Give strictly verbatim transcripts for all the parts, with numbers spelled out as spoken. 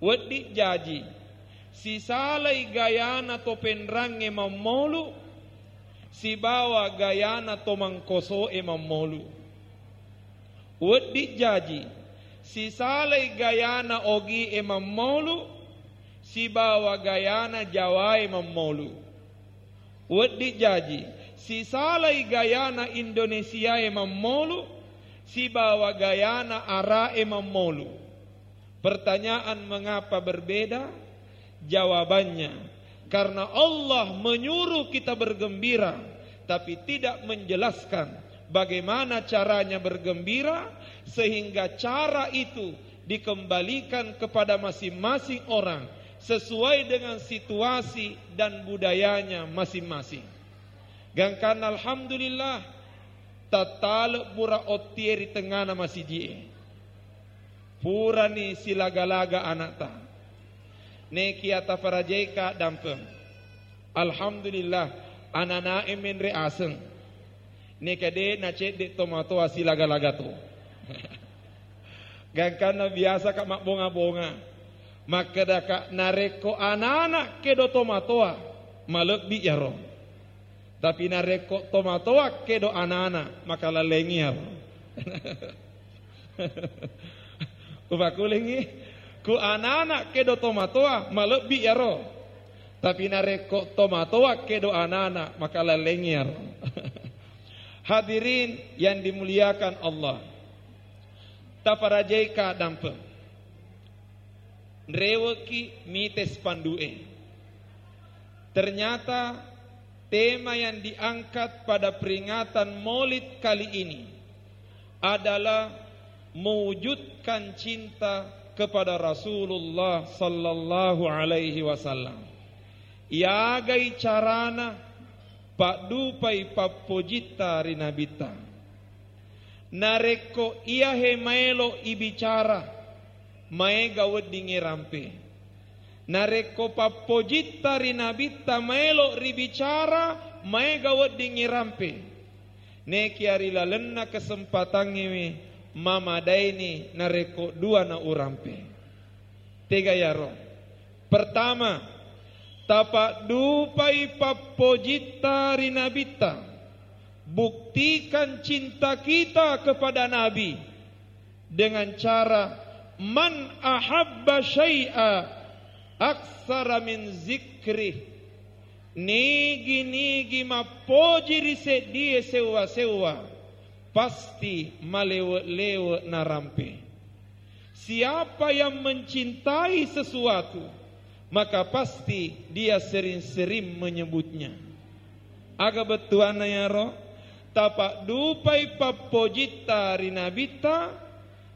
Wedding jaji, sisalai gayana to penrangnge mammolu, sibawa gayana to mangkoso'e mammolu. Wedding jaji, sisalai gayana ogi'e mammolu, sibawa gayana Jawae mammolu. Wedding jaji, sisalai gayana Indonesiae mammolu, sibawa gayana Ara'e mammolu. Pertanyaan, mengapa berbeda? Jawabannya, karena Allah menyuruh kita bergembira, tapi tidak menjelaskan bagaimana caranya bergembira, sehingga cara itu dikembalikan kepada masing-masing orang sesuai dengan situasi dan budayanya masing-masing. Gangkanna, alhamdulillah, tattale' pura ottie ri tengngana masiji'e. Purani silaga-laga ana'ta. Nekia taparajaika dampeng. Alhamdulillah, anana'e menre aseng. Neka de' nacedde' tomatoa silaga-laga to. Gangkanna biasaka' mabbonga-bonga. Makkedaka', narekko anana' kedo tomatoa, malebbi' iyaro. Tapi narekko tomatoa kedo anana', maka lallengi iyaro. Upakulingngi, ku anana' kedo tomatoa, malebbi' iyaro. Tapi narekko tomatoa kedo anana', maka lallengi iyaro. Hadirin yang dimuliakan Allah, taparajaika dampeng. Nrewekki mite spandu'e. Ternyata tema yang diangkat pada peringatan Maulid kali ini adalah mewujudkan cinta kepada Rasulullah sallallahu alaihi wasallam. Yagai carana paddupai pappojitta ri Nabitta. Narekko iyahe maelo ibicara, maega weddingnge rampe. Narekko pappojitta ri Nabitta maelo ribicara, maega weddingnge rampe. Nekia ri lalenna kesempatangngewe mamadaini narekko dua na urampe. Tega iyaro? Pertama, tapaddupai pappojitta ri Nabitta. Buktikan cinta kita kepada Nabi dengan cara, "Man ahabba syai'a aksara min zikrih." Nigi-nigi mappoji ri seddie sewwa-sewwa, pasti malewe-lewe narampe. Siapa yang mencintai sesuatu, maka pasti dia sering-sering menyebutnya. Aga bettuanna iyaro? Tapaddupai pappojitta ri Nabitta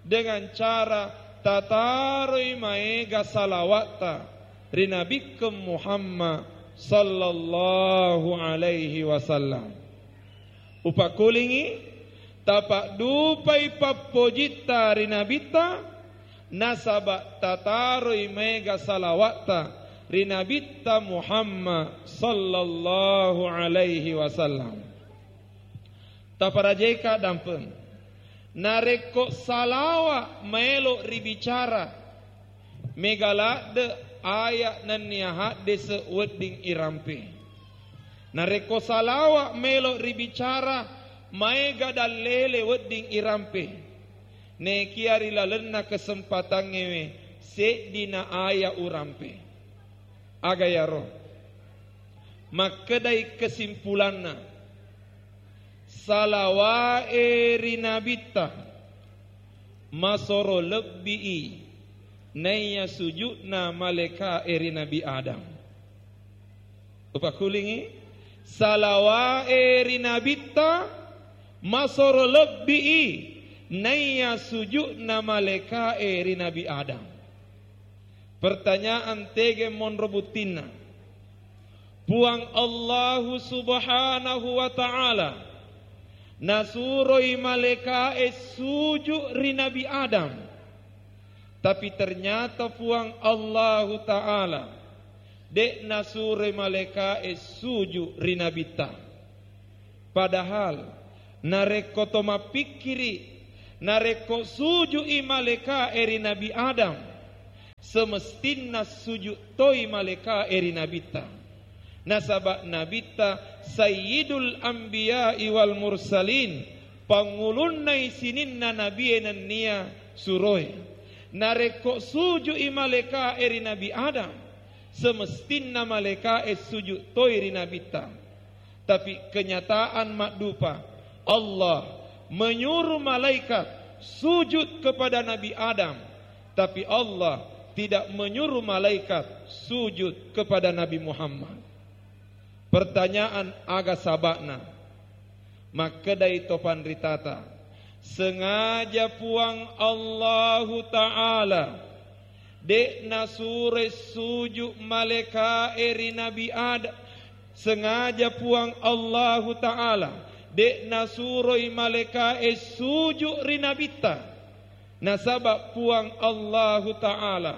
dengan cara tataroi maega salawatta ri Nabikkeng Muhammad sallallahu alaihi wasallam. Upakulingngi, tapaddupai pappojitta ri Nabitta, nasaba tataroi maega salawatta ri Nabitta Muhammad sallallahu alaihi wasallam. Taparajaika dampeng. Narekko salawa maelo ribicara, mega ladde aya nennia haddese wedding irampe. Narekko salawa maelo ribicara, maega dallele wedding irampe. Nekia ri lalenna kesempatangngewe seddina aya urampe. Aga iyaro? Makkedai kesimpulanna, salawae ri Nabitta masoro lebbii naiya suju'na malekae ri Nabi Adam. Upakulingngi, salawae ri Nabitta masoro lebbii naiya suju'na malekae ri Nabi Adam. Pertanyaan, tege monro buttinna? Puang Allahu Subhanahu wa Ta'ala nasuroi malekae suju ri Nabi Adam. Tapi ternyata Puang Allahu Ta'ala de' nasuroi malekae suju ri Nabitta. Padahal narekko to mappikkiri, narekko suju'i malekae ri Nabi Adam, Semestinna sujud toi malaeka'e ri Nabitta. Nasaba Nabitta Sayyidul Anbiya'i wal Mursalin, pangulunnai sininna nabie nennia suroe. Narekko suju'i malaeka'e ri Nabi Adam, semestinna malaeka'e sujud toi ri Nabitta. Tapi kenyataan maddupa, Allah menyuruh malaikat sujud kepada Nabi Adam, tapi Allah tidak menyuruh malaikat sujud kepada Nabi Muhammad. Pertanyaan, aga saba'na? Makkedai to panritata, sengaja Puang Allahu Ta'ala de' nasuroi sujud malaeka'e ri Nabi Adam. Sengaja Puang Allahu Ta'ala de' nasuroi malaeka'e sujud ri Nabitta. Nasaba Puang Allahu Ta'ala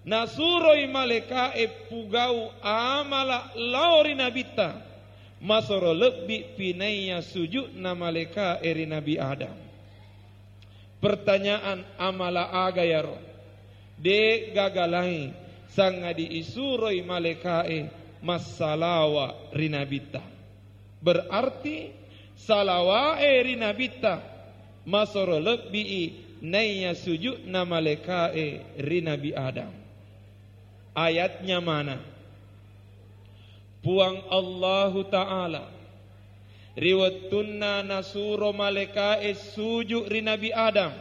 nasuroi malaeka'e pugau amala lao ri Nabitta, masoro lebbi pinaiya sujudna malaeka'e ri Nabi Adam. Pertanyaan, amala aga yaro? De' gagalai, sangadi isuroi malaeka'e massalawa ri Nabitta. Berarti salawa'e ri Nabitta masoro lebbi'i naiya sujudna malaeka'e ri Nabi Adam. Ayatnya mana? Puang Allahu Ta'ala ri wettunna nasuro malaeka'e sujud ri Nabi Adam,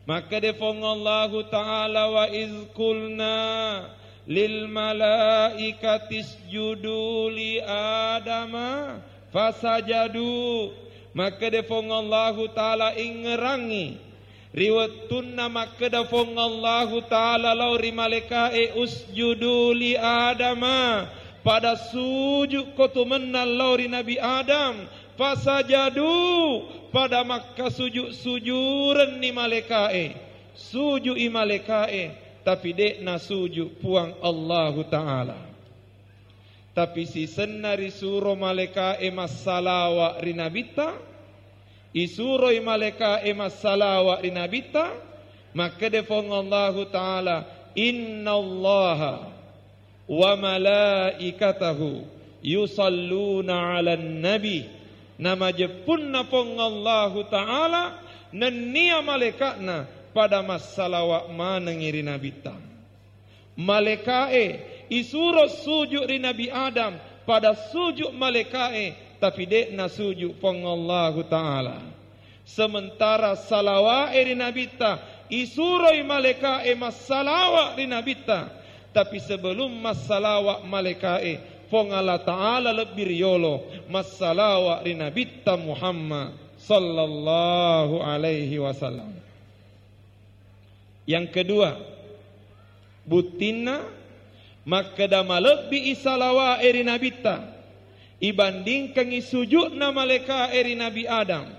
makkeda Puang Allahu Ta'ala, "Wa iz qulna lil malaikati isjudu li Adama fasajadu." Makkeda Puang Allahu Ta'ala, ingngerangngi ri wettunna makkeda Puang Allahu Ta'ala lao ri malaeka'e, "Usjudu li Adama," pada sujukko tu mennang lao ri Nabi Adam. Fasajadu, pada makkasuju-sujurenni malaeka'e. Suju'i malaeka'e, tapi de' nasuju Puang Allahu Ta'ala. Tapi sisenna risuro malaeka'e massalawa ri Nabitta, isuroi malaeka'e massalawa ri Nabitta, makkeda Puang Allahu Ta'ala, "Innallaha wa malaikatahu yusalluna 'alan nabi." Namajeppunna Puang Allahu Ta'ala nennia malaeka'na pada massalawa manengngi ri Nabitta. Malaeka'e isuro suju ri Nabi Adam, pada suju malaeka'e, tapi de' nasuju Puang Allahu Ta'ala. Sementara salawa'e ri Nabitta, isuroi malaeka'e massalawa ri Nabitta, tapi sebelum massalawa malaeka'e, Puang Allah Ta'ala lebbi riyolo massalawa ri Nabitta Muhammad sallallahu alaihi wasallam. Yang kedua, buttinna makkeda malebbi'i salawa'e ri Nabitta ibandingkangngi suju'na malaeka'e ri Nabi Adam.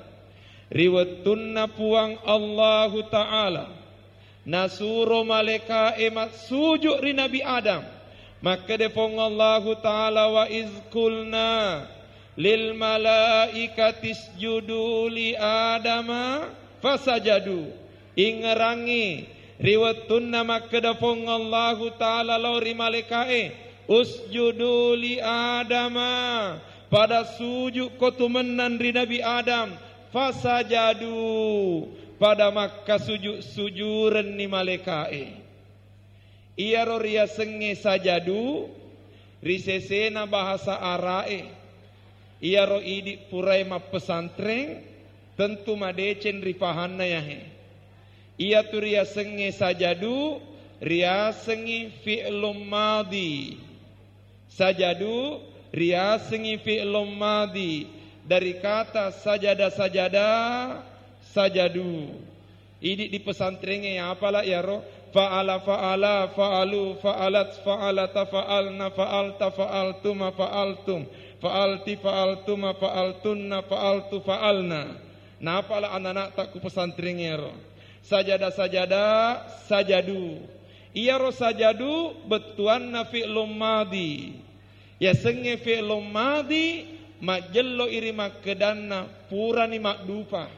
Ri wettunna Puang Allahu Ta'ala nasuro malaeka'e massuju ri Nabi Adam, makkeda Puang Allahu Ta'ala, "Wa iz qulna lil malaikati isjudu li Adama fasajadu." Ingngerangngi ri wettunna makkeda Puang Allahu Ta'ala lao ri malaeka'e, "Usjudu li Adama," pada sujukko tu mennang ri Nabi Adam. Fasajadu, pada makkasuju-sujurenni malaeka'e. Iyaro riasengnge sajadu ri sesena bahasa Ara'e. Iyaro idi purae mappesantreng, tentu madeceng ri pahanna yahe. Iyatu riasengnge sajadu, riasengngi fi'lum madhi. Sajadu riasengngi fi'lum madhi dari kata sajada-sajada, sajadu. Idi di pesantrengnge apala iyaro? Fa'ala, fa'ala, fa'alu, fa'alat, fa'alata, fa'alna, fa'alta, fa'altuma, fa'altum, fa'alti, fa'altuma, fa'altunna, fa'altu, fa'alna. Napala anana'ta ku pesantrengnge iyaro? Sajada-sajada, sajadu. Iyaro sajadu bettuanna fi'lum madhi. Yasengnge fi'lum madhi majjello iri makkedanna purani maddupa.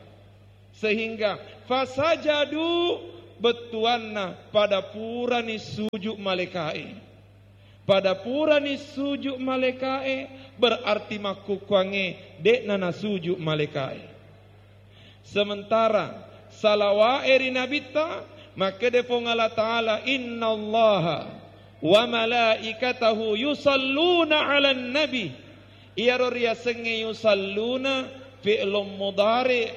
Sehingga fasajadu, bettuanna pada purani suju' malaeka'e. Pada purani suju' malaeka'e, berarti makkukkuangnge de'na nasuju' malaeka'e. Sementara salawa'e ri Nabitta, makkeda Puang Allah Ta'ala, "Innallaha wa malaikatahu yusalluna 'alan nabi." Iyaro riasengnge yusalluna fi'lun mudhari',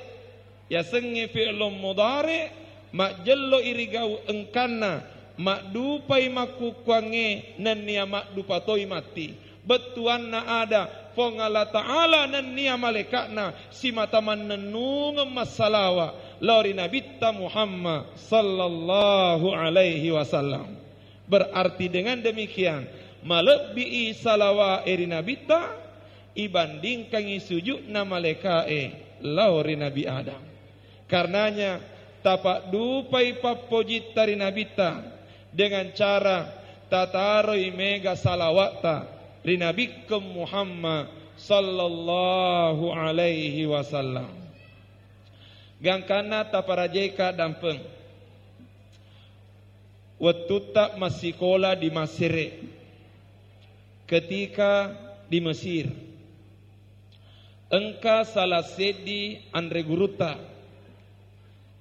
yasengnge fi'lun mudhari', majjello irigau engkanna, maddupai makkukkuangnge nennia maddupa toi matti. Bettuanna ada Puang Allah Ta'ala nennia malaeka'na simata mannennungeng massalawa lao ri Nabitta Muhammad sallallahu alaihi wasallam. Berarti dengan demikian, malebbi'i salawa'e ri Nabitta ibandingkangngi suju'na malaeka'e lao ri Nabi Adam. Karenanya, tapaddupai pappojitta ri Nabitta dengan cara tataroi mega salawa'ta ri Nabikkeng Muhammad sallallahu alaihi wasallam. Gangkanna taparajaika dampeng. Wettutta massikola di Masere, ketika di Mesir, engka salah seddi anre gurutta,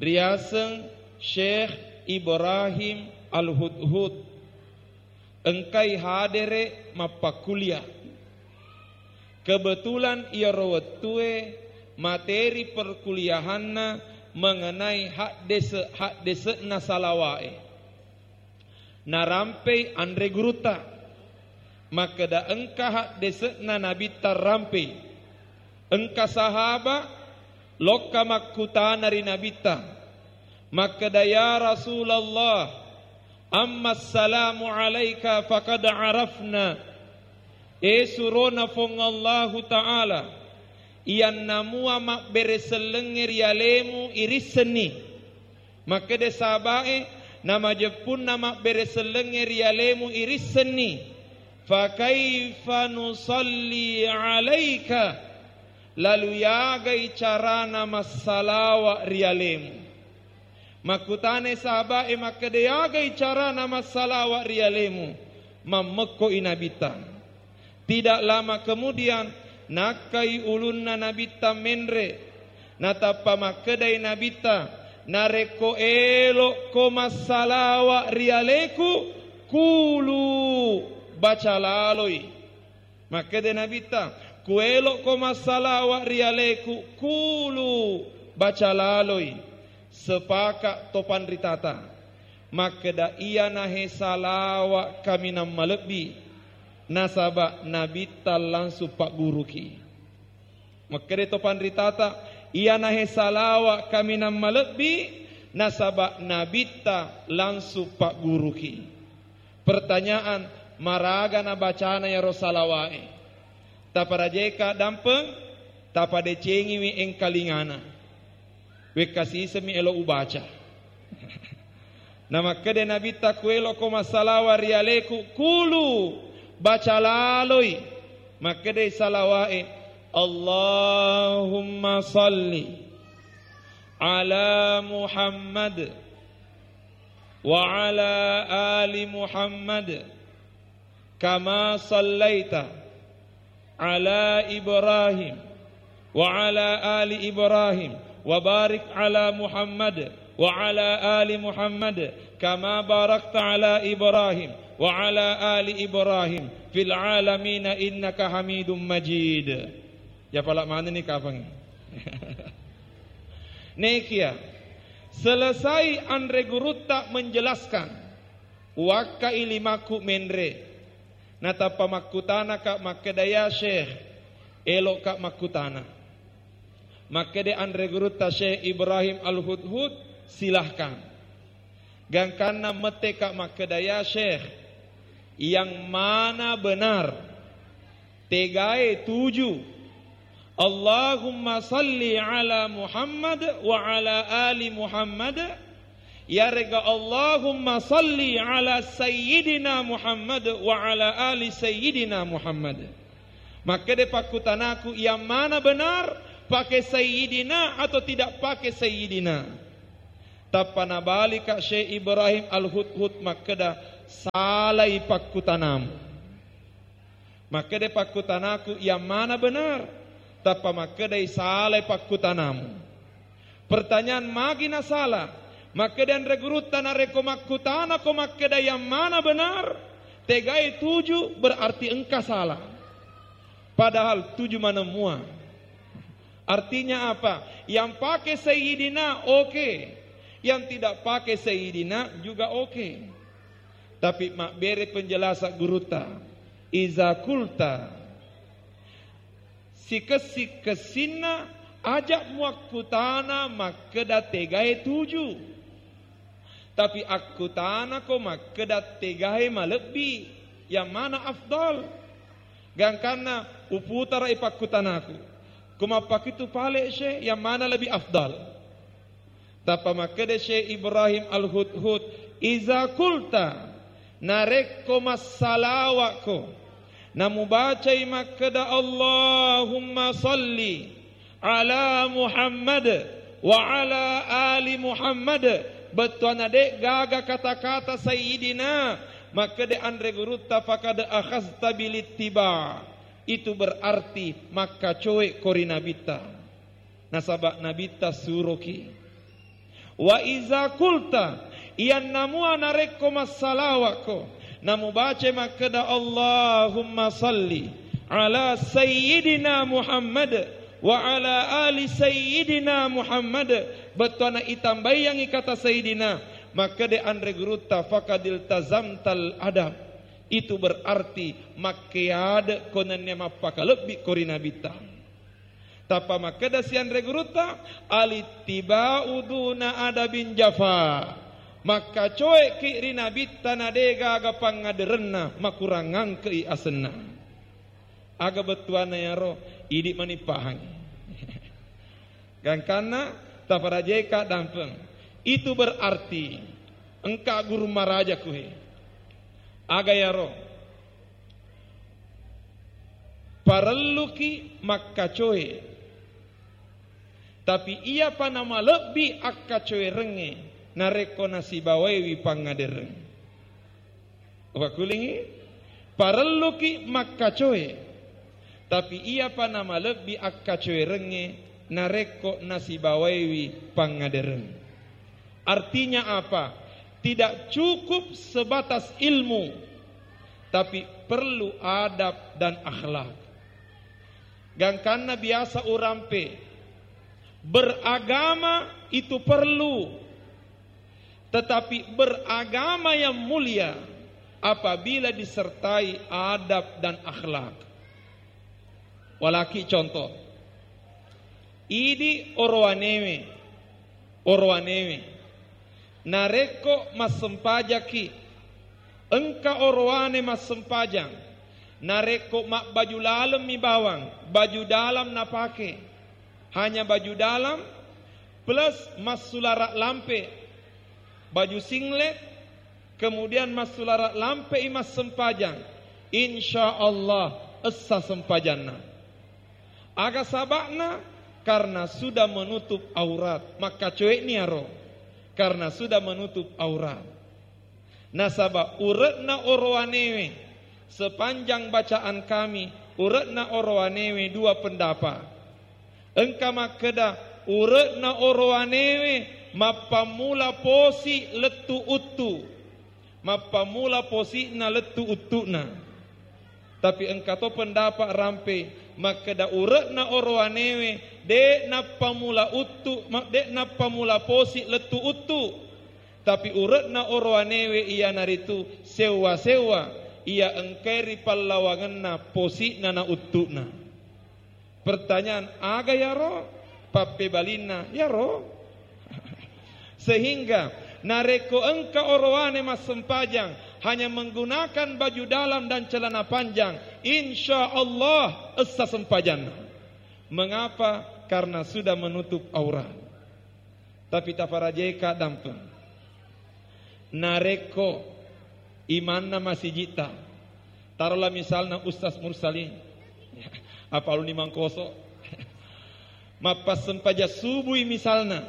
riaseng Syekh Ibrahim Al-Hudhud, engkai hadere mappakkulia. Kebetulan iyaro wettue materi perkuliahanna mengenai haddese-, haddese'na salawa'e. Narampei anre gurutta. Makkeda engka haddese'na Nabitta rampei. Engka sahaba lokka makkutana ri Nabitta. Makkeda, "Ya Rasulullah, amma salamu alaika faqad arafna." E surona Puang Allahu Ta'ala, iyanna mua mabbere sellengnge ri alemu irissenni. Makkeda sahaba'e, namajeppunna mabbere sellengnge ri alemu irissenni. Fa kaifa nusalli alaika? Lalu yagai carana massalawa ri alemu? Makkutanai sahaba'e makkeda, "Yagai carana massalawa ri alemu?" Mammekko i Nabitta. Tidak lama kemudian, nakkai ulunna Nabitta menre. Natappa makkedai Nabitta, "Narekko elo'ko massalawa ri aleku, kulu, baca laloi." Makkeda Nabitta, "Kuelo'ko massalawa ri aleku, kulu, baca laloi." Sepaka to panritata. Makkeda, "Iyanahe salawa kaminang malebbi, nasaba Nabitta langsung pagguruki." Makkeda to panritata, "Iyanahe salawa kaminang malebbi, nasaba Nabitta langsung pagguruki." Pertanyaan, maraga nabacana iyaro salawa'e? Taparajeka dampeng, tapadecengiwi engkalingana. Wekka sisemmi elo ubaca. Namakkeda Nabitta, "Kueloko massalawa ri aleku, kulu, baca laloi." Makkeda salawa'e, "Allahumma salli ala Muhammad wa ala ali Muhammad." Kama sallaita ala Ibrahim wa ala ali Ibrahim wa barik ala Muhammad wa ala ali Muhammad kama barakta ala Ibrahim wa ala ali Ibrahim fil alamina innaka Hamidum Majid. Ya pala manenni kapang. Nekia, selesai anre gurutta menjelaskan, wakka ilimaku menre. Natappa makkutanaka makkeda, "Ya Syekh, eloka makkutana." Makkeda anre gurutta Syekh Ibrahim Al-Hudhud, "Silahkan. Gangkanna metteka makkeda, ya Syekh, yang mana benar?" Tegae tuju. Allahumma salli ala Muhammad wa ala ali Muhammad. Yarega Allahumma salli ala Sayyidina Muhammad wa ala ali Sayyidina Muhammad. Makkeda pakkutanaku, yang mana benar? Pakai Sayyidina atau tidak pakai Sayyidina? Tappa nabalika Syekh Ibrahim Al-Hudhud makkeda, "Salai pakkutanamu." Makkeda, "Pakkutanaku yang mana benar?" Tappa makkedai, "Salai pakkutanamu." Pertanyaan, magi nasala? Makkeda anre gurutta, "Narekko makkutanako makkeda yang mana benar, tegai tuju, berarti engka salah. Padahal tuju maneng mua." Artinya apa? Yang pakai Sayyidina, oke. Yang tidak pakai Sayyidina juga oke. Tapi mabbere penjelasan gurutta, "Iza kulta," sikessi-kessinna, aja muakkutana makkeda tegae tuju. Tapi akkutanako makkeda tegae malebbi, yang mana afdal? Gangkanna uputarai pakkutanaku. Ko mappakitu pale, Syekh, yang mana lebih afdal? Tappa makkeda Syekh Ibrahim Al-Hudhud, "Iza kulta," narekko massalawa'ko, namubacai makkeda, "Allahumma salli ala Muhammad wa ala ali Muhammad," bettuanna de' gaga kata-kata Sayyidina, makkeda anre gurutta, "Faqad akhazta bil ittiba." Itu berarti makkacoe ko ri Nabitta. Nasaba Nabitta suroki. "Wa iza kulta," iyannamua narekko massalawa'ko, namubaca makkeda, "Allahumma salli ala Sayyidina Muhammad wa ala ali Sayyidina Muhammad," bettuanna itambaiyangngi kata Sayyidina, makkeda anre gurutta, "Faqad iltazamtal adab." Itu berarti makkeade ko nennia mappakalebbi ko ri Nabitta. Tappa makkeda sianre gurutta, "Alittiba'u duna adabin jafa." Makkacoeki ri Nabitta na de gaga pangngaderenna, makurangangkei asenna. Aga bettuanna yaro? Idi mani pahangi. Gangkanna taparajeka dampeng. Itu berarti engka guru maraja kuhe. Aga yaro? Parelluki makkacoe. Tapi iyapa namalebbi akkacoerengnge narekko nasibawaiwi pangngadereng. Upakkulingi, parelluki makkacoe. Tapi iyapa namalebbi akkacoerengnge narekko nasibawaiwi pangngadereng. Artinya apa? Tidak cukup sebatas ilmu, tapi perlu adab dan akhlak. Gangkanna biasa urampe, beragama itu perlu, tetapi beragama yang mulia apabila disertai adab dan akhlak. Walaki contoh, idi orowanewe, orowanewe, narekko massempajaki, engka orowane massempajang, narekko mabbaju lalemmi bawang, baju dalam napake, hanya baju dalam plus massulara lampe, baju singlet, kemudian massulara lampe'i massempajang, insya Allah essa sempajanna. Aga saba'na? Karena sudah menutup aurat. Makkacoe'ni aro, karena sudah menutup aurat. Nasaba ure'na orowanewe, sepanjang bacaan kami, ure'na orowanewe dua pendapat. Engka makkeda, ure'na orowanewe mappammula posi lettu uttu. Mappammula posi'na lettu uttu'na. Tapi engka to pendapat rampe makkeda ure'na orowanewe de' nappamula uttu, ma-, de' nappamula posi lettu uttu. Tapi ure'na orowanewe iyanaritu sewwa-sewwa iya engkae ri pallawangenna posi'na na uttu'na. Pertanyaan, aga yaro? Pappebalinna, yaro. Sehingga narekko engka orowane massempajang hanya menggunakan baju dalam dan celana panjang, insya Allah essa sempajanna. Mengapa? Karena sudah menutup aurat. Tapi taparajeka dampeng. Narekko imanna masijitta, tarolah misalna Ustaz Mursalin, apa aluni Mangkoso, mappassempajang subui misalna,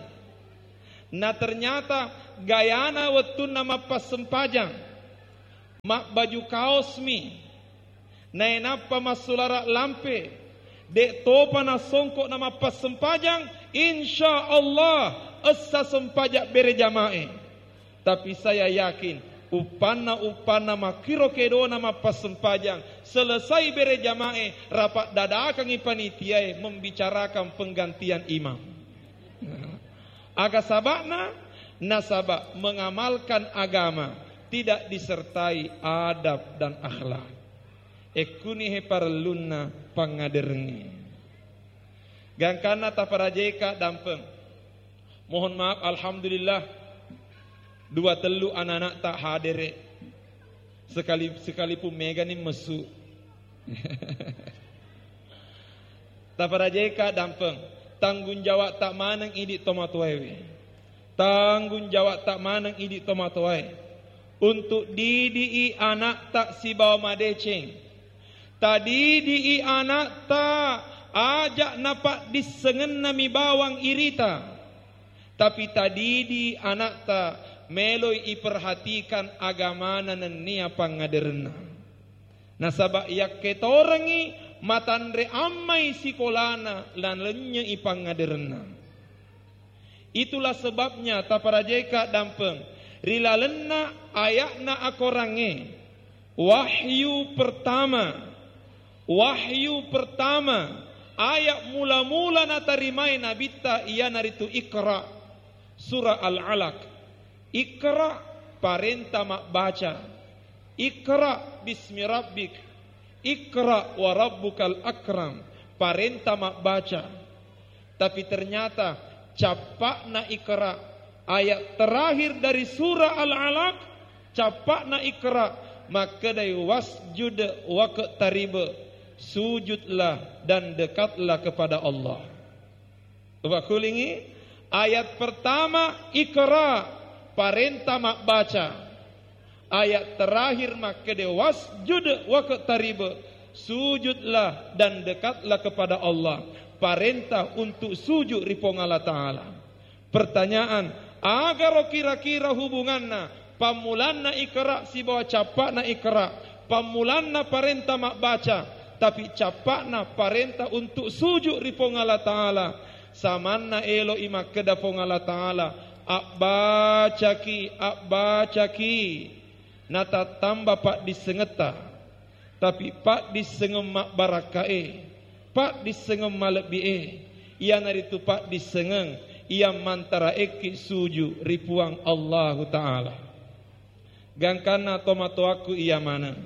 Na ternyata gayana wettunna mappassempajang, mabbaju kaosmi, nainappa massulara lampe, de' topa nasongko na mappassempajang, insya Allah essa sempajang bere jamae. Tapi saya yakin, uppanna-uppanna makkiro kedona mappassempajang, selesai bere jamae, rapat dadakangi panitiae membicarakan penggantian imam. Aga saba'na? Nasaba mengamalkan agama tidak disertai adab dan akhlak. Ekkuni he parellunna pangaderengnge. Gangkanna taparajeka dampeng. Mohon maaf, alhamdulillah, dua tellu anak-anak tak hadere. Sekali, sekalipun megani messu. Taparajeka dampeng, tanggung jawab tak maneng idi tomatoaewe. Tanggung jawab tak maneng idi tomatoae untuk didii anak tak sibawa madeceng. Tadidii anak tak ajak napaddissengenna mi bawang irita. Tapi tadidi anak tak meloi iperhatikan agamana nennia pangaderenna. Nasaba yakketorengngi matanre ammai sikolana, lalennyei pangaderenna. Itulah sebabnya taparajeka dampeng ri lalenna aya'na akorangnge. Wahyu pertama, wahyu pertama, ayat mula-mula natarimai nabitta iyanaritu Iqra, surah Al-Alaq. Iqra, parenta mabbaca. Iqra bismi rabbik. Iqra wa rabbukal akram. Parenta mabbaca. Tapi ternyata cappa'na Iqra, ayat terakhir dari surah Al-Alaq, cappa'na Iqra, makkedai, "Wasjud waqtarib." Sujudlah dan dekatlah kepada Allah. Upakulingi, ayat pertama Iqra, parenta mabbaca. Ayat terakhir makkede, "Wasjud waqtarib." Sujudlah dan dekatlah kepada Allah. Parenta untuk sujud ri Puang Allah Ta'ala. Pertanyaan, agaro kira-kira hubunganna pammulanna Iqra sibawa cappa'na Iqra? Pammulanna parenta mabbaca, tapi cappa'na parenta untuk sujud ri Puang Allah Ta'ala. Samanna eloi makkeda Puang Allah Ta'ala, "Abbacaki, abbacaki." Natattamba paddissengetta. Tapi paddissengeng mabbarakkae, paddissengeng malebbi'e, iyanaritu paddissengeng iya mantaraekki suju ri Puang Allahu Ta'ala. Gangkanna tomatoakku iya maneng,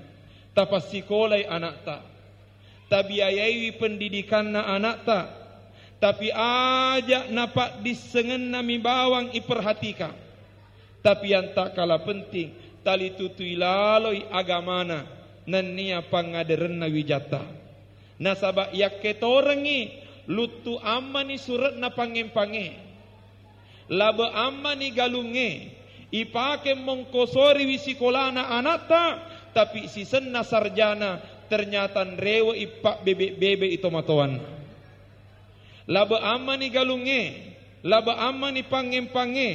tapassikolai anakta, tabiayaiwi pendidikanna anakta, tapi aja napaddissengenna mi bawang iperhatikan. Tapi yang tak kalah penting, talitutui laloi agamana nennia pangaderenna wijatta. Nasaba yakketorengngi luttu ammani sure'na pangngempangngé. Labe ammani galungngé, ipake mongkosoriwi sikolana anatta, tapi sisenna sarjana ternyata nrewe'i pabbebe-bebe'i tomatoanna. Labe ammani galungngé, labe ammani pangngempangngé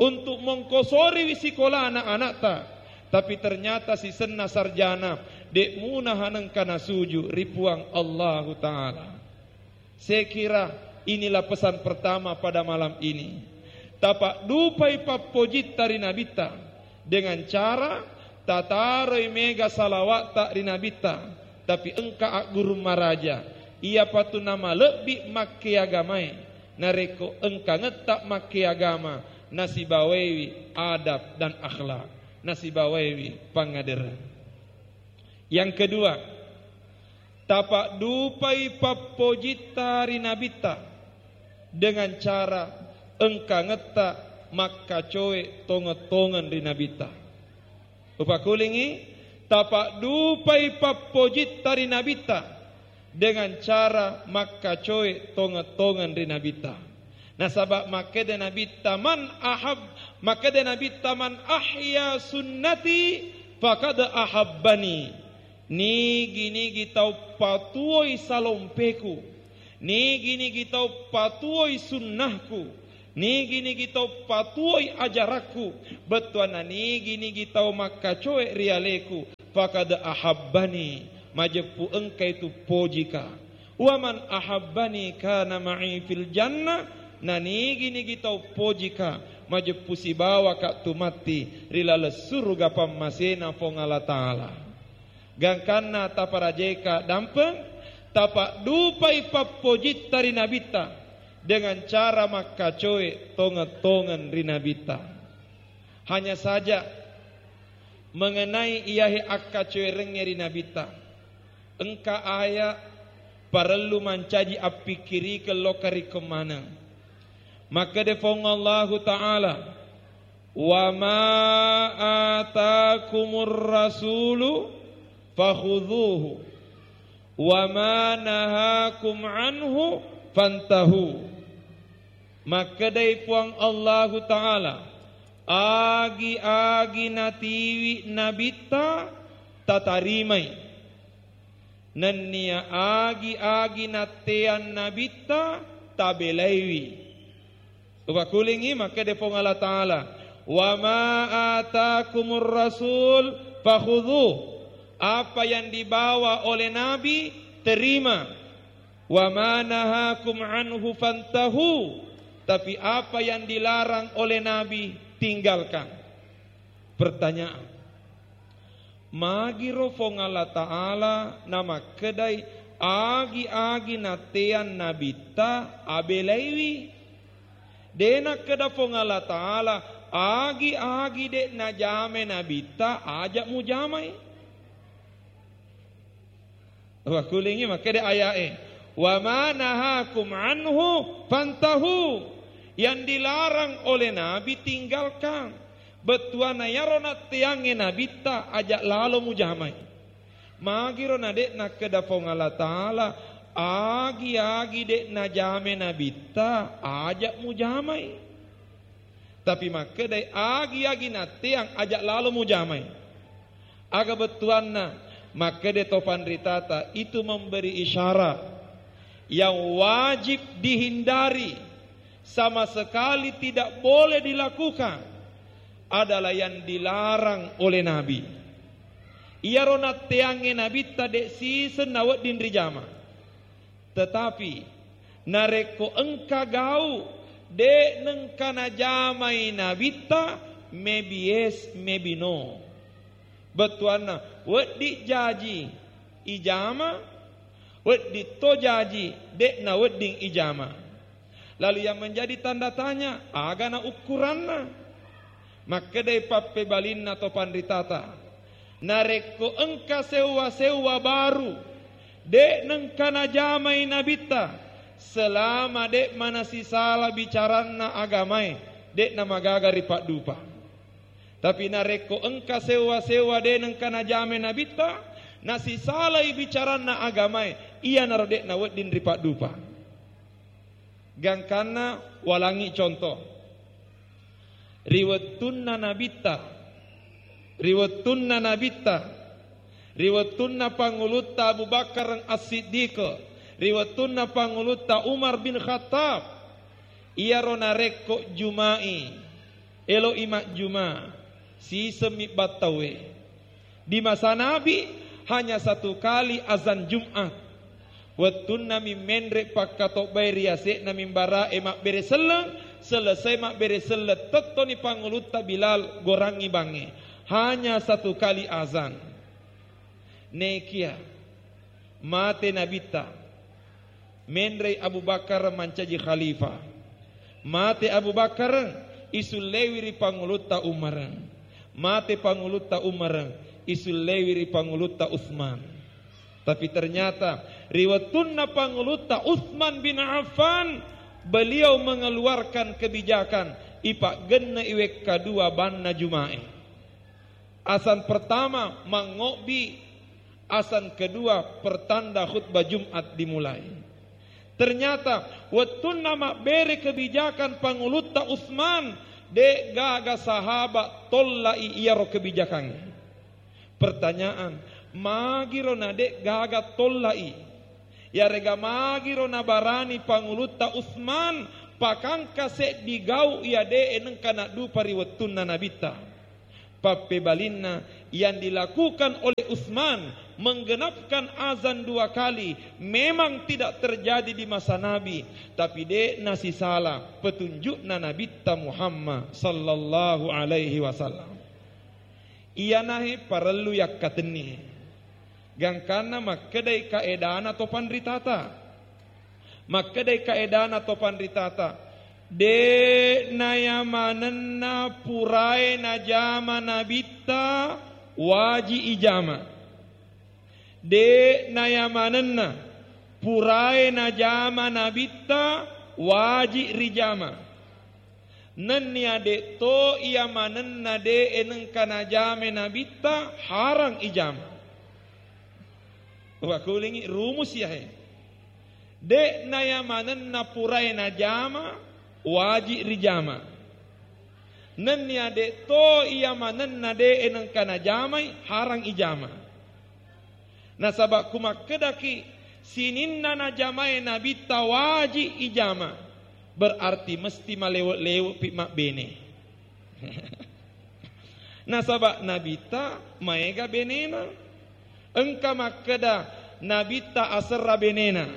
untuk mongkosoriwi sikolana anatta, tapi ternyata sisenna sarjana, de' muna hanengka nasuju ri Puang Allahu Ta'ala. Saya kira inilah pesan pertama pada malam ini. Tapaddupai pappojitta ri Nabitta dengan cara tataroi mega salawatta ri Nabitta, tapi engka aggurung maraja, iyapatu namalebbi makkeagamae, narekko engkangetta makkeagama, nasibawaiwi adab dan akhlak, nasibawaiwi pangadereng. Yang kedua, tapaddupai pappojitta ri Nabitta dengan cara engkangetta makkacoe tongeng-tongeng ri Nabitta. Upakulingi, tapaddupai pappojitta ri Nabitta dengan cara makkacoe tongeng-tongeng ri Nabitta. Nasaba makkeda Nabitta, "Man ahab-," makkeda Nabitta, "Man ahya sunnati faqad ahabbani." Nigi-nigi tau patuoi salompeku, nigi-nigi tau patuoi sunnahku, Nigi-nigi tau patuoi ajarakku, bettuanna nigi-nigi tau makkacoe ri aleku, faqad ahabbani, majeppu engkai tu pojika. Wa man ahabbani kana ma'i fil jannah, na nigi-nigi tau pojika, majeppu sibawaka tu matti ri laleng suruga pammasena Puang Allah Ta'ala. Gangkanna taparajeka dampeng, tapaddupai pappojitta ri Nabitta dengan cara makkacoe tongeng-tongeng ri Nabitta. Hanya saja, mengenai iyahe akkacoerengnge ri Nabitta, engka aya parellu mancaji appikkirikeng lokka ri kemaneng. Makkeda Puang Allahu Ta'ala, "Wa ma atakumur rasulu fakhudhuhu, wa ma nahakum anhu fantahu." Makkedai Puang Allahu Ta'ala, agi-agi natiwi Nabitta, tatarimai. Nennia agi-agi natteang Nabitta, tabelaiwi. Upakulingi, makkeda Puang Allah Ta'ala, "Wa ma atakumur rasul fakhudhu." Apa yang dibawa oleh Nabi, terima. "Wa ma nahakum anhu fantahu." Tapi apa yang dilarang oleh Nabi, tinggalkan. Pertanyaan, magiro Puang Allah Ta'ala namakkedai agi-agi natteang Nabitta abelaiwi? De nakkeda Puang Allah Ta'ala, agi-agi de najamai Nabitta, aja mujamai. Wakulingi makkeda aya'e, "Wa ma nahakum anhu fantahu." Yang dilarang oleh Nabi, tinggalkan. Bettuanna iyaro natteangnge Nabitta, aja lalo mujamai. Magiro na de nakkeda Puang Allah Ta'ala, agi-agi de najamai Nabitta, aja mujamai. Tapi makkedai, agi-agi natteang, aja lalo mujamai. Aga bettuanna? Makkeda to panritata, itu memberi isyarat yang wajib dihindari, sama sekali tidak boleh dilakukan, adalah yang dilarang oleh Nabi. Iyaro natteangnge Nabitta de siseng nawedding rijama. Tetapi, narekko engka gau de nengka najamai Nabitta, maybe yes, maybe no. Bettuanna, wedding jaji ijama, wedding to jaji de'na wedding ijama. Lalu yang menjadi tanda tanya, agana ukuranna? Makkedai pappebalinna to panritata, narekko engka sewwa-sewwa baru de nengka najamai Nabitta, selama de manasisala bicaranna agamae, de namagaga ripaddupa. Tapi narekko engka sewwa-sewwa de nengka najamai Nabitta, nasisalai bicaranna agamae, iyanaro de nawedding ripaddupa. Gangkanna walangi contoh. Ri wettunna Nabitta, ri wettunna Nabitta, ri wettunna Pangulutta Abu Bakar As-Siddiq, ri wettunna Pangulutta Umar bin Khattab, iyaro narekko Juma'i, elo'i majjuma, sisemmi battaue. Di masa Nabi, hanya satu kali azan Jumat. Wettunna mi menre pakkatobbae ri ase'na mimbara'e mabbere selleng, selesai mabbere selleng, tettoni Pangulutta Bilal gorangngi bangnge. Hanya satu kali azan. Nekia mate Nabitta, menrei Abu Bakar mancaji khalifah. Mate Abu Bakar, isullewi ri Pangulutta Umar. Mate Pangulutta Umar, isullewi ri Pangulutta Utsman. Tapi ternyata ri wettunna Pangulutta Utsman bin Affan, beliau mengeluarkan kebijakan ipaggenne'i wekka dua banna Jumae. Azan pertama mangobbi, azan kedua pertanda khutbah Jumat dimulai. Ternyata wettunna mabbere kebijakan Pangulutta Utsman, de gaga sahabat tollai iyaro kebijakan. Pertanyaan, magiro na de gaga tollai? Iyarega magiro nabarani Pangulutta Utsman Pakangka seddi gau iya de'e nengka naddupa ri wettunna Nabitta. Pappebalinna, yang dilakukan oleh Utsman menggenapkan azan dua kali memang tidak terjadi di masa Nabi, tapi de' nasisala petunjukna Nabitta Muhammad sallallahu alaihi wasallam. Iyanahe parellu yakkatenni. Gangkanna makkedai kaedana to panritata. Makkedai kaedana to panritata. De' nayamanenna purae najama Nabitta waji ijama. De' nayamanenna purae najama Nabitta waji rijama. Nennia de' to iya manenna de'e nengka najame Nabitta harang ijama. Wakulingi rumus yahe. De' naya manenna purae najama, waji rijama. Nennia de' to iya manenna de'e nengka najamai harang ijama. Nasaba' ku makkedaki sininna najamae Nabitta waji ijama, berarti mesti malewe'-lewe'pi mabbene. Nasaba' Nabitta maega benena. Engka makkeda Nabitta aserra benena.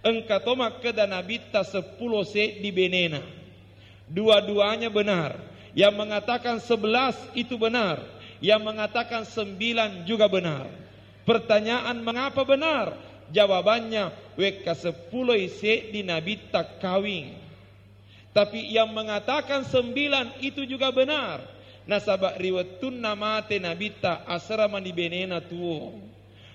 Engka to makkeda Nabitta seppulo seddi benena. Dua-duanya benar. Yang mengatakan sebelas itu benar. Yang mengatakan sembilan juga benar. Pertanyaan, mengapa benar? Jawabannya, wekka seppuloi seddi Nabitta kawing. Tapi yang mengatakan sembilan itu juga benar. Nasaba' ri wettunna mate Nabitta, asera mani benena tuo.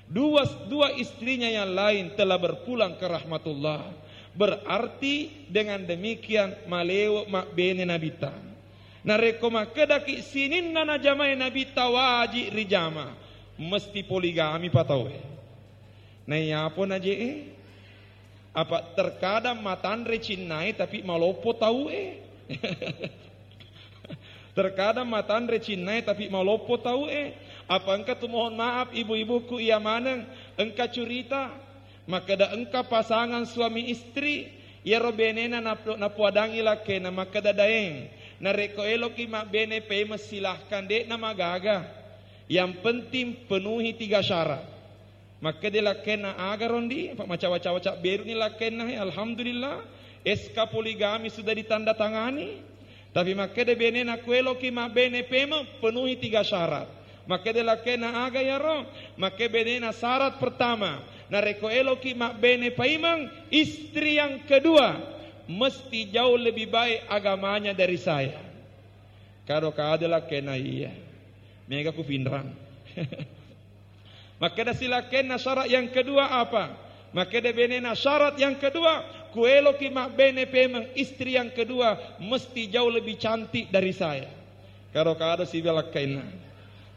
Dua, dua istrinya yang lain telah berpulang ke rahmatullah. Berarti dengan demikian malewe' mabbene Nabitta. Narekko makkedaki sininna najamai Nabitta waji rijama, mesti poligami pa tauwe. Naiyapo naje'e? Apa terkadang matanre cinnae tapi maloppo tauwe. Terkadang matanre cinnae tapi maloppo tauwe. Apa engka tu, mohon maaf ibu-ibuku, iya maneng engka curita. Makkeda engka pasangan suami istri, iyaro benena nap-, napuadangi lakkena makkeda, "Daeng, narekko eloki mabbene pemeng silahkan, de'na magaga. Yang penting penuhi tiga syarat." Makkeda lakkainna, "Aga rondi?" Apa macawa-cawa cabberuni lakkainna, he, alhamdulillah, S K poligami sudah ditandatangani. Tapi makkeda benena, "Kueloki mabbene pemeng, penuhi tiga syarat." Makkeda lakkainna, "Aga yaro?" Makkeda benena, "Syarat pertama, narekko eloki mabbene paimeng, istri yang kedua mesti jauh lebih baik agamanya dari saya." Kado-kado lakkainna, "Iya, mega kupinrang." Makkeda silakkainna, "Syarat yang kedua apa?" Makkeda benena, "Syarat yang kedua, kueloki mabbene pemeng, istri yang kedua mesti jauh lebih cantik dari saya." Kado-kado siba lakkainna.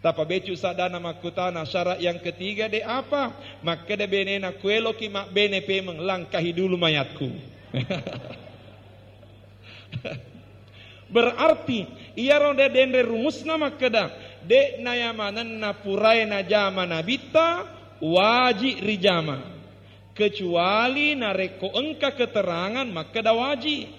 Tapa becu saddana makkutana, "Syarat yang ketiga de apa?" Makkeda benena, "Kueloki mabbene pemeng, langkahi dulu mayatku." Berarti iyaro de denre rumusna makkeda, de nayamanenna purae najama nabitta, waji rijama. Kecuali narekko engka keterangan makkeda waji.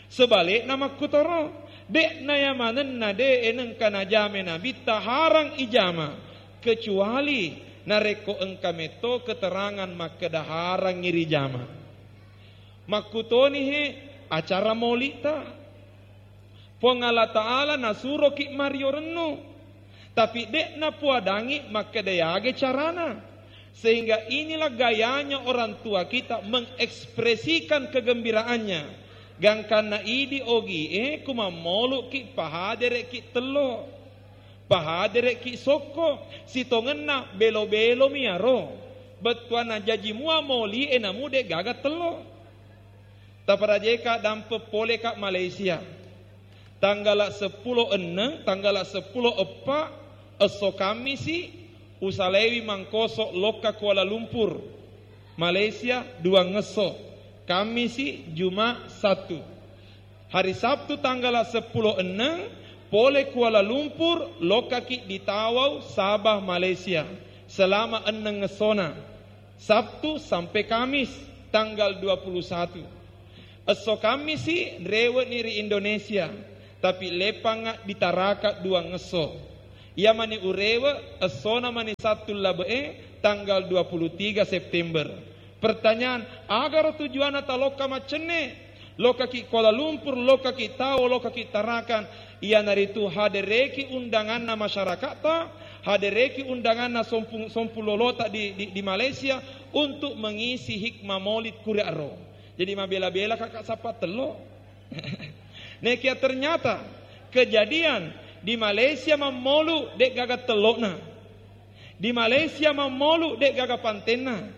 Sebalikna makkutoro, de nayamanenna de nengka najama nabitta harang ijama, kecuali narekko engka metto keterangan makkeda harangngi rijama. Makkutoni he acara maulitta. Puang Allah Ta'ala nasuroki mario rennu, tapi de napuadangi makkeda yaga carana. Sehingga inilah gayanya orang tua kita mengekspresikan kegembiraannya. Gangkanna idi ogie, kumammauluki, pahadereki tello. Pahadereki sokko, sitongenna belo-belomi aro. Bettuanna jaji mua maulie namu de gaga tello. Taparajeka dampe poleka Malaysia. Tanggala seppulo enneng, tanggala seppulo eppa, esso Kammisi, usalaiwi mangkoso lokka Kuala Lumpur, Malaysia, duangngesso, Kammisi, Juma, Sattu. Hari Sabtu tanggala seppulo enneng, pole Kuala Lumpur, lokkaki di Tawau, Sabah, Malaysia, selama enneng essona. Sabtu sampai Kamis, tanggal dua puluh satu. Esso Kammisi rewe'ni ri Indonesia, tapi leppanga ditaraka duang esso. Iya mani urewe essona mani Sattu labe'e tanggal dua puluh tiga September. Pertanyaan, agaro tujuanna talokka maccenne? Lokkaki Kuala Lumpur, lokkaki Tao, lokkaki Tarakan, iyanaritu hadereki undanganna masyarakatta, hadereki undanganna sompu-, sompulolota di, di, di Malaysia untuk mengisi hikmah maulid kuriaro. Jadi mabela-bela kakak sappa tello. Nekia ternyata kejadian di Malaysia mammolu de' gaga tellokna. Di Malaysia mammolu de' gaga pantenna.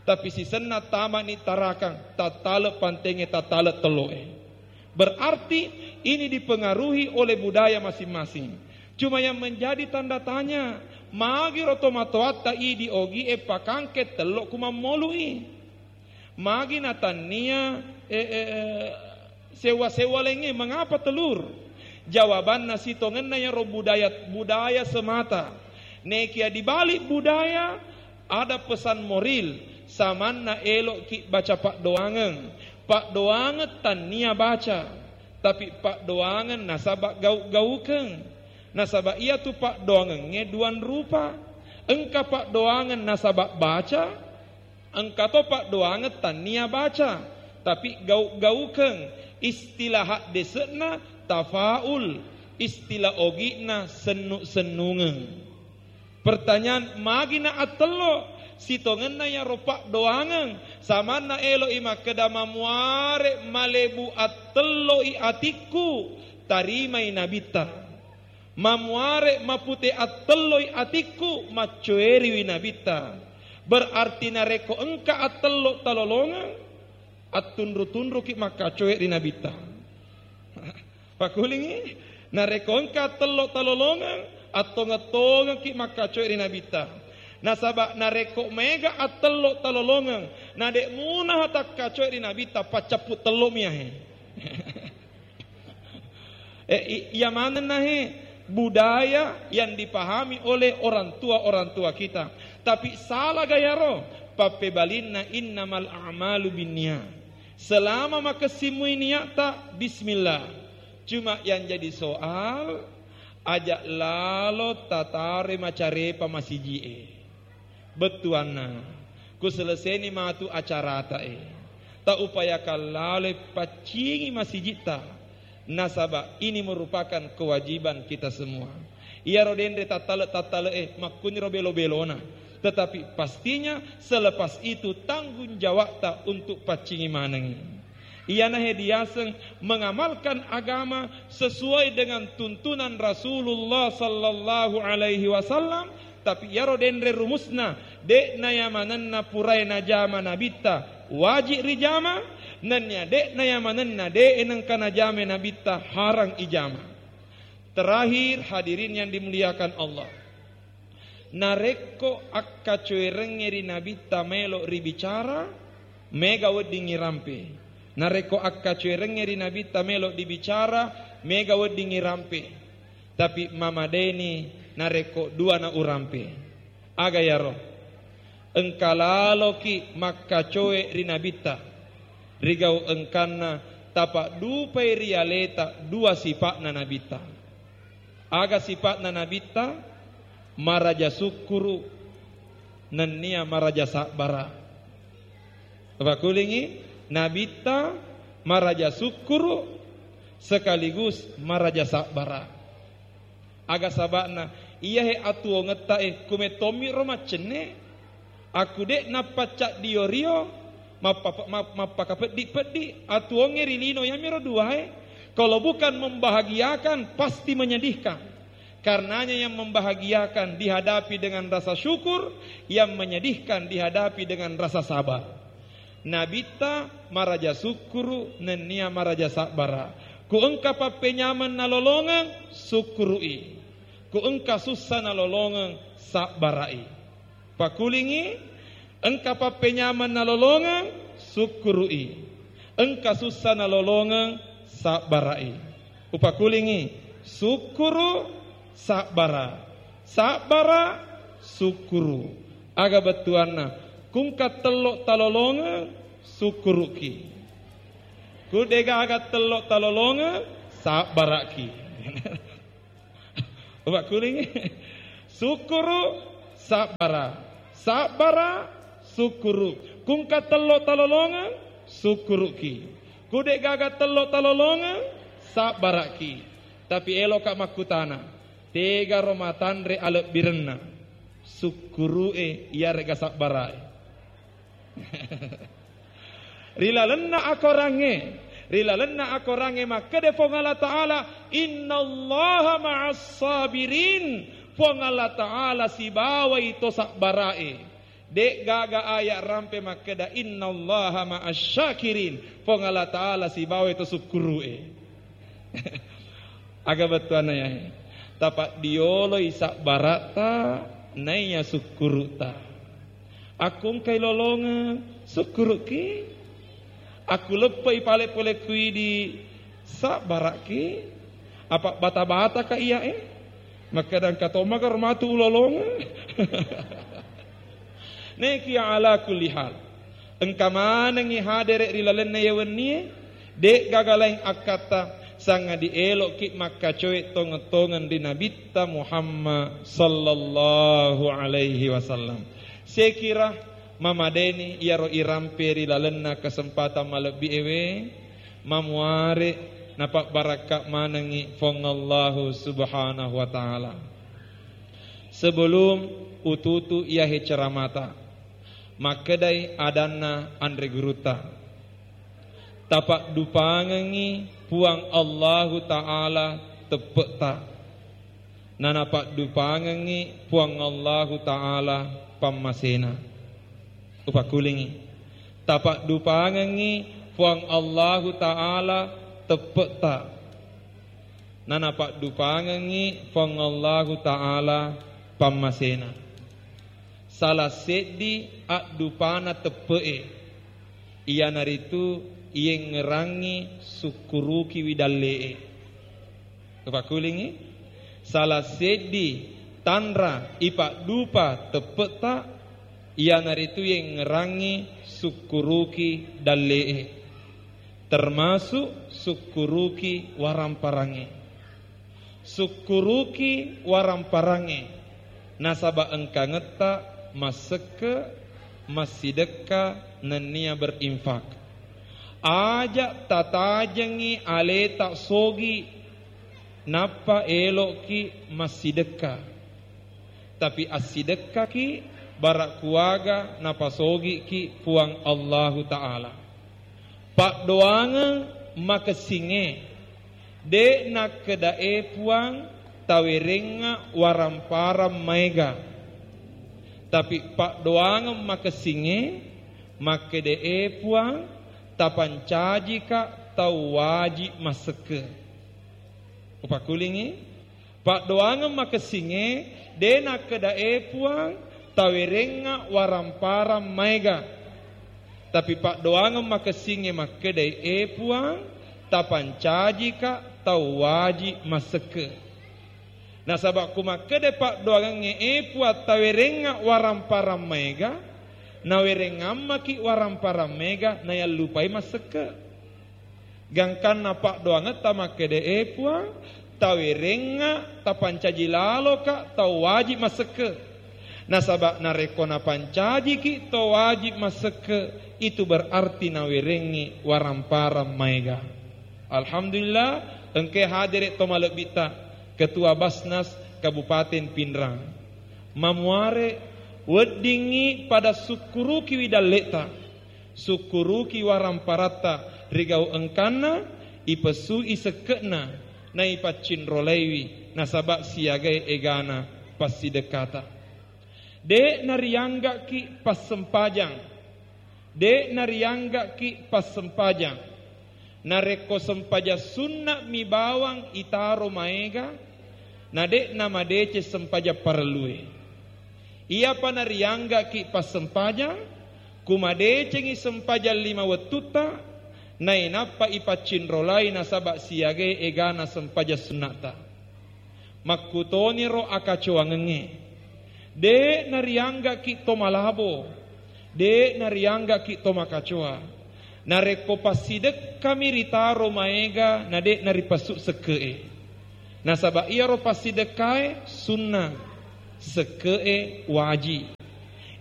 Tapi sisenna tamani Tarakang, tattale pantengnge, tattale telloe. Berarti ini dipengaruhi oleh budaya masing-masing. Cuma yang menjadi tanda tanya, magi ro tomatoatta idi ogie pakangke tello ku mammolui? Magi natannia, eh, eh, eh, sewa-sewa laingnge, mengapa telur? Jawabanna sitongenna yaro budaya, budaya semata. Nekia di balik budaya ada pesan moral, samanna elo'ki baca paddoangeng. Paddoangeng tannia baca, tapi paddoangeng nasaba gau-gaukeng. Nasaba iyatu paddoangengnge duang rupa. Engka paddoangeng nasaba baca, engka to paddoangeng tannia baca, tapi gau-gaukeng. Istilah haddese'na tafaul, istilah ogi'na sennu-sennungeng. Pertanyaan, magina attello? Sitongenna yaro paddoangeng, samanna elo'i makkeda, mamuare malebu attello'i atikku, tarimai nabitta. Mamuare mapute attelloi atikku, maccoeriwi nabitta. Berarti narekko engka attello talolongeng, attunru-tunruki makkacoe ri nabitta. Pakulingi, narekko engka attello talolongeng, attongeng-tongengki makkacoe ri nabitta. Nasaba narekko mega attello talolongeng, nade munaha takkacoe ri nabitta, paccappu tellomi ahe. Eh, i-, iya manenna he budaya yang dipahami oleh orang tua-orang tua kita. Tapi salah gayaro, pappebalinna innamal a'malu binniyat. Selama makessimui niatta, bismillah. Cuma yang jadi soal, aja lalo tatare macarepa masiji'e. Bettuanna, kuseleseni matu acaratae. Ta upayakan laloi paccingi masijitta. Nasaba ini merupakan kewajiban kita semua. Iyaro denre tattale-tattale'e makkuniro belo-belona. Tetapi pastinya selepas itu tanggung jawabta untuk paccingi manengi. Iyanahe diaseng mengamalkan agama sesuai dengan tuntunan Rasulullah sallallahu alaihi wasallam, tapi iyaro denre rumusna, de'na yamanenna purae najama nabitta, wajib rijama, nennia de'na yamanenna de'e nengka najama nabitta, harang ijama. Terakhir, hadirin yang dimuliakan Allah. Narekko akkacoerengnge ri nabitta melo ribicara, mega weddingngi rampe. Narekko akkacoerengnge ri nabitta melo dibicara, mega weddingngi rampe. Tapi mamadeni narekko dua na urampe. Aga yaro? Engka laloki makkacoe ri nabitta. Rigau engkanna tapaddupai ri aleta dua sipa'na nabitta. Aga sipa'na nabitta? Maraja sukkuru, nennia maraja sabbara. Pakulingi, nabitta maraja sukkuru sekaligus maraja sabbara. Aga saba'na? Iyahe atuwongetta e, kumettommi ro maccenne. Aku de' nappacca dio-rio, mappa-, map-, mappakapeddi-peddi. Atuwongnge ri lino yamiro duae. Kalau bukan membahagiakan, pasti menyedihkan. Karenanya yang membahagiakan dihadapi dengan rasa syukur, yang menyedihkan dihadapi dengan rasa sabar. Nabitta maraja sukkuru, nennia maraja sabbara. Ku engka pappenyameng nalolongeng, sukkuru'i. Ku engka sussa nalolongeng, sabbara'i. Pakulingi, engka pappenyameng nalolongeng, sukkuru'i. Engka sussa nalolongeng, sabbara'i. Upakulingi, sukkuru, sabbara. Sabbara, sukkuru. Aga bettuanna? Ku engka tello talolongeng, sukkuruki. Ku degaga tello talolongeng, sabbaraki. Upakkulingi. Sukkuru, sabbara. Sabbara, sukkuru. Ku engka tello talolongeng, sukkuruki. Ku degaga tello talolongeng, sabbaraki. Tapi eloka makkutana, tegaro matanre alebbirenna? Sukkuru'e iyarega sabbarae? Ri lalenna akorangnge, ri lalenna akorangnge makkeda Puang Allah Ta'ala, "Innallaha ma'as sabirin." Puang Allah Ta'ala sibawai to sabbarae. De'gaga ayat rampe makkeda, "Innallaha ma'as syakirin." Puang Allah Ta'ala sibawai to sukkuru'e. Aga bettuanna yae? Tapaddioloi sabbaratta naiya sukkuru'ta. Akku engkai lolongeng, sukkuruki. Akku leppe'i pale pole kuidi, sabbaraki. Apa bata-bataka iyae? Makkeda engka tomma karo matu ulolongeng. Nekia ala kulli hal. Engka manengngi hadere ri lalenna iye wennie, de'gaga laing akkatta, sangadi elo'ki makkacoe tongeng-tongeng ri Nabitta Muhammad sallallahu alaihi wasallam. Sekira mamadeni iyaro irampe ri lalenna kesempatan malebbi ewe, mamuare napabbarakka manengngi Puang Allahu Subhanahu wa Ta'ala. Sebelum ututu iyahe ceramata, makkedai adanna anre gurutta, tapaddupangengngi Puang Allahu Ta'ala teppe'ta, nanapaddupangengngi Puang Allahu Ta'ala pammasena. Upakkulingi. Tapaddupangengngi Puang Allahu Ta'ala teppe'ta, nanapaddupangengngi Puang Allahu Ta'ala pammasena. Salah seddi addupana teppe'e, iyanaritu iyengngerangngi sukkurukiwi dalle'e. Upakkulingi, salah seddi tanra ipaddupa teppe'ta, iyanaritu yengngerangngi sukkuruki dalle'e, termasuk sukkuruki waramparangnge. Sukkuruki waramparangnge, nasaba engkangetta massekke, massidekka, nennia berinfak. Aja tatajengngi aleta sogi, nappa elo'ki massidekka. Tapi assidekkaki, bara kuaga napasogiki Puang Allahu Ta'ala. Paddoangeng makessingnge, de' nakkedae Puang tawerengnga waramparang maega. Tapi paddoangeng makessingnge, makkedae Puang tapancajika tau waji massekke. Upakkulingi, paddoangeng makessingnge, de' nakkedae Puang tawerengnga waramparang maega. Tapi paddoangeng makessingnge makkedai, "E Puang, tapancajika tau waji massekke." Nasaba ku makkeda paddoangengnge, "E Puang, tawerengnga waramparang maega," nawerengngammaki waramparang maega, nayallupai massekke. Gangkanna paddoangetta makkeda, "E Puang, tawerengnga, tapancaji laloka tau wajib massekke." Nasaba narekko napancajiki tau wajib massekke, itu berarti nawerengngi waramparang maega. Alhamdulillah, engkae hadere to malebbitta, Ketua Basnas Kabupaten Pinrang. Mamuare weddingngi pada sukkurukiwi dalle'ta. Sukkuruki waramparatta ri gau engkanna, ipessui sekke'na, naipaccinrolaiwi nasaba siagai egana passidekkata. De' nariangga'ki passempajang, de' nariangga'ki passempajang. Narekko sempajang sunna'mi bawang itaro maega, na de' namadeceng sempajang parellue. Iyapa nariangga'ki passempajang, ku madecengi sempajang lima wettutta, nainappa ipaccinrolai nasaba siagai egana sempajang sunna'ta. Makkutoniro akacoangengnge. De' nariangga'ki to malabo, de' nariangga'ki to makacoa. Narekko passidekkami ritaro maega na de' naripasu sekke'e. Nasaba iyaro passidekkae sunna, sekke'e waji.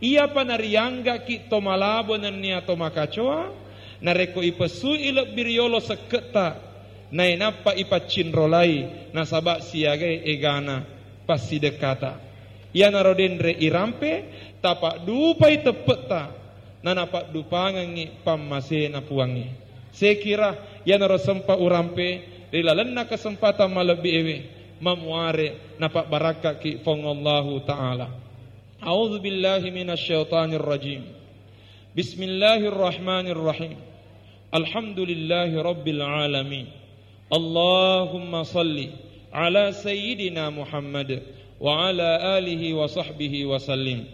Iyapa narianggaki to malabo nennia to makacoa, narekko ipesui lebbi riolo sekke'ta, nainappa ipaccinrolai, nasaba siagai egana passidekkata. Iyanaro denre irampe, tapaddupai teppe'ta, nanapaddupangengngi pammasena Puangnge. Sekira iyanaro sempa urampe ri lalenna kesempatan malebbi ewe, mamuare napabbarakkaki Puang Allahu Ta'ala. A'udzu billahi minasy syaithanir rajim. Bismillahirrahmanirrahim. Alhamdulillahi rabbil alamin. اللهم صل على سيدنا محمد وعلى آله وصحبه وسلم.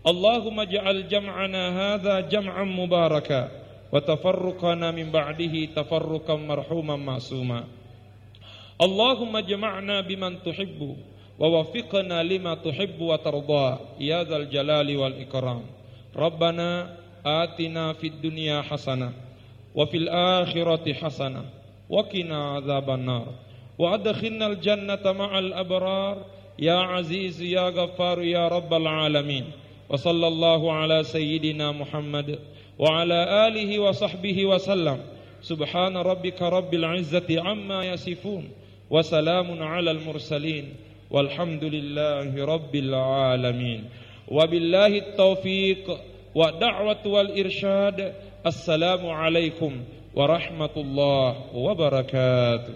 اللهم اجعل جمعنا هذا جمعا مباركا وتفرقنا من بعده تفرقا مرحوما معصوما. اللهم اجمعنا بمن تحب ووفقنا لما تحب وترضى يا ذا الجلال والإكرام. ربنا آتنا في الدنيا حسنة وفي الآخرة حسنة وقنا عذاب النار. وأدخلنا الجنة مع الأبرار يا عزيز يا غفار يا رب العالمين. وصلى الله على سيدنا محمد وعلى آله وصحبه وسلم. سبحان ربك رب العزة عما يصفون. وسلام على المرسلين. والحمد لله رب العالمين. وبالله التوفيق والدعوة والإرشاد. السلام عليكم ورحمة الله وبركاته.